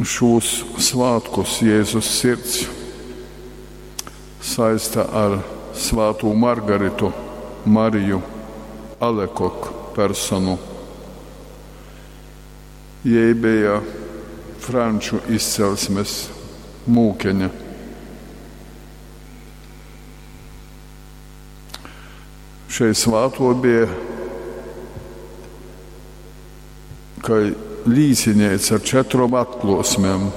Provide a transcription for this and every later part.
Šūs svātkus Jēzus Sirds saista ar svātū Margaritu Mariju Alekok personu. Jei beja franču izcelsmes mūkeņa. Šei svātuo beja kai līcineica ar četrom atkluosmem,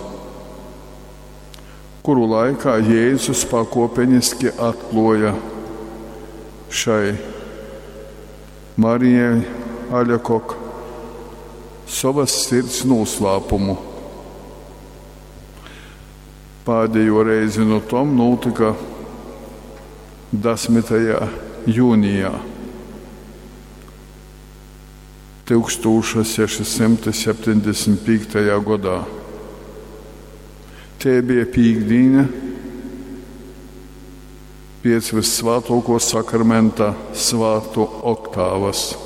kuru laikā Jēzus pakuopeniski atkluoja šai Marijai Aļakok sovas sirds nūslāpumu. Pādējo reizi nu tom nūtyka 10. jūnijā 1675. godā. Tei bija pīktdīne piec Vyssvātuokuo Sakramenta svātku oktāvas.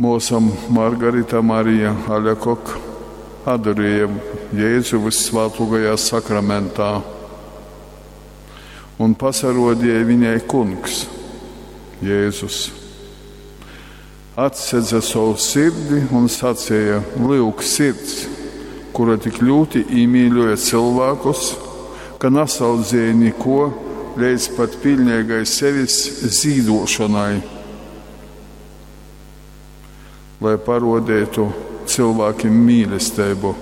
Muosa Margarita Marija Aļakok adorēja Jēzu Vyssvātuokajā Sakramentā un pasaruodieja viņai Kungs Jēzus. Atsedze sovu sirdi un saceja: Lyuk, sirds, kura tik ļūti īmīļoja cylvākus, ka nasaudzēja nikuo leidz pat piļneigai sevis zīduošonai, lai paruodeitu cylvākim mīlesteibu.